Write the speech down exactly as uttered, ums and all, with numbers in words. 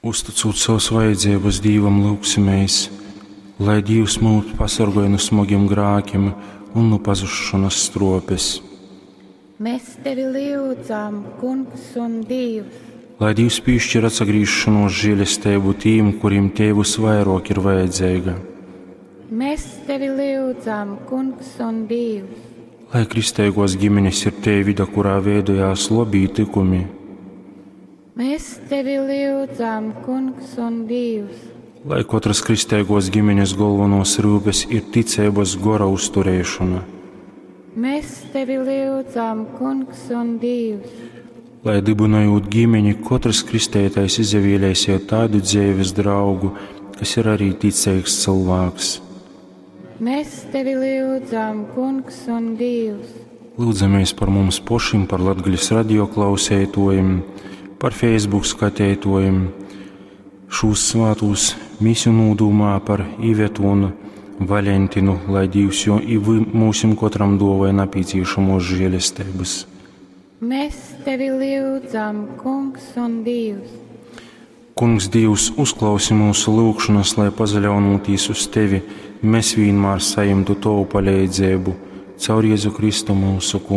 Uzticūt savas vajadzības Dīvam, lyugsimēs, lai Dīvs mūs pasorgoj nu smogim grākim un nu pazusšonas struopes. Mēs tevi lyudzam, Kungs un Dievs. Lai Dīvs piešķir atsagriešanos žēlestību tīm, kuriem tei visvairāk ir vajadzīga. Mēs tevi lyudzam, Kungs un Dievs. Lai kristīgos ģimenes ir tei vida, kurā veidojās labī tikumi. Mēs tevi lyudzam, Kungs un Dievs. Lai katras kristīgos ģimenes galvenos rūpes ir ticības gora uzturēšana. Mēs tevi lyudzam, Kungs un Dievs. Lai dibinojot ģimeni, katrs kristētais izvēlēsies tādu dzīves draugu, kas ir arī ticīgs cilvēks. Mēs tevi lyudzam, Kungs un Dievs. Lūdzamies par mums pašiem, par Latgaļas radio klausētojiem, par Facebook skatētojiem, šūs svātūs misiju nūdūmā par Ivetu un Valentinu, lai Dievs jo i mūsim kotram dovai napīcīšamos žēlestības. Mēs tevi lyudzam, Kungs un Dievs. Kungs Dievs, uzklausi mūsu lūgšanas, lai pazaļaunotīs uz tevi, mēs vienmēr saimtu tavu palīdzību caur Jēzu Kristu mūsu kungu.